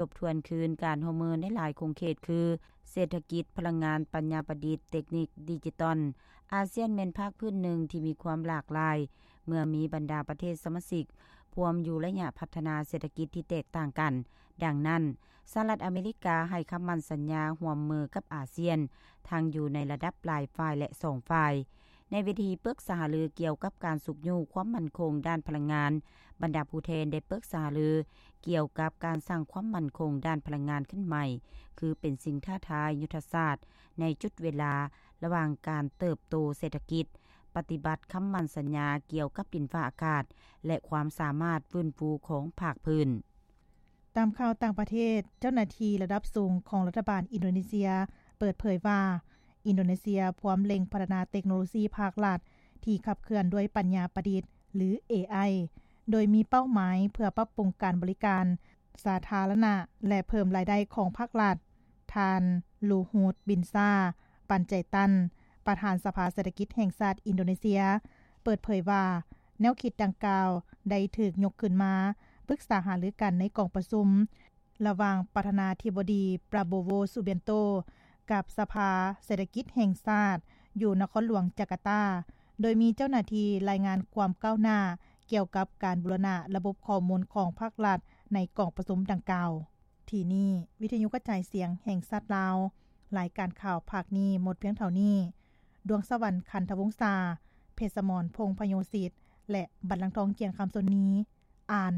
ທົບທວນຄືນການຮ່ວມມືໃນຫຼາຍຂົງເຂດຄື ເສດຖະກິດ, ພະລັງງານ, ປັນຍາປະດິດ, ເຕັກນິກດິຈິຕອນ. ອາຊຽນແມ່ນພາກພື້ນໜຶ່ງທີ່ມີຄວາມຫຼາກຫຼາຍ ເມື່ອມີບັນດາປະເທດສະມາຊິກພວມຢູ່ໄລຍະພັດທະນາເສດຖະກິດທີ່ແຕກຕ່າງກັນ. ດັ່ງນັ້ນ, ສະຫະລັດອາເມລິກາໃຫ້ຄຳໝັ້ນສັນຍາຮ່ວມມືກັບອາຊຽນ ທັງຢູ່ໃນລະດັບຫຼາຍຝ່າຍ ແລະ ສອງຝ່າຍ. ໃນເວທີປຶກສາຫາລືກ່ຽວກັບການຊຸກຍູ້ຄວາມໝັ້ນຄົງດ້ານພະລັງງານ, ບັນດາຜູ້ແທນໄດ້ປຶກສາຫາລືກ່ຽວກັບການສ້າງຄວາມໝັ້ນຄົງດ້ານພະລັງງານຂຶ້ນໃໝ່ ຄືເປັນສິ່ງທ້າທາຍຍຸດທະສາດໃນຈຸດເວລາລະຫວ່າງການເຕີບໂຕເສດຖະກິດ, ປະຕິບັດຄຳໝັ້ນສັນຍາກ່ຽວກັບດິນຟ້າອາກາດ ແລະ ຄວາມສາມາດຟື້ນຟູຂອງພາກພື້ນ. ຕາມຂ່າວຕ່າງປະເທດ, ເຈົ້າໜ້າທີ່ລະດັບສູງຂອງລັດຖະບານອິນໂດເນເຊຍເປີດເຜີຍວ່າ ອິນໂດເນເຊຍພວມເລັ່ງພັດທະນາເຕັກໂນໂລຊີພາກລັດທີ່ຂັບເຄື່ອນດ້ວຍປັນຍາປະດິດ ຫຼື ເອໄອ ໂດຍມີເປົ້າໝາຍເພື່ອປັບປຸງການບໍລິການສາທາລະນະ ແລະ ເພີ່ມລາຍໄດ້ຂອງພາກລັດ. ທ່ານ ລູຮູດ ບິນຊາ ປັນໄຈຕັນ ປະທານສະພາເສດຖະກິດແຫ່ງຊາດອິນໂດເນເຊຍ ເປີດເຜີຍວ່າ ແນວຄິດດັ່ງກ່າວໄດ້ຖືກຍົກຂຶ້ນມາປຶກສາຫາລືກັນໃນກອງປະຊຸມ ລະຫວ່າງປະທານາທິບໍດີ ປຣາໂບໂວ ຊູບຽນໂຕ ກັບສະພາເສດຖະກິດແຫ່ງຊາດ ຢູ່ນະຄອນຫຼວງຈາກາຕາ, ໂດຍມີເຈົ້າໜ້າທີ່ລາຍງານຄວາມກ້າວໜ້າກ່ຽວກັບການບູລະນະລະບົບຂໍ້ມູນຂອງພາກລັດໃນກອງປະຊຸມດັ່ງກ່າວ. ທີ່ນີ້ ວິທະຍຸກະຈາຍສຽງແຫ່ງຊາດລາວ, ລາຍການຂ່າວພາກນີ້ໝົດພຽງເທົ່ານີ້. ດວງສະຫວັນ ຄັນທະວົງສາ, ເພດສະໝອນ ພົງພະໂຍສິດ ແລະ ບັນລັງທອງ ຈຽງຄຳ ຊົນນີ ອ່ານ.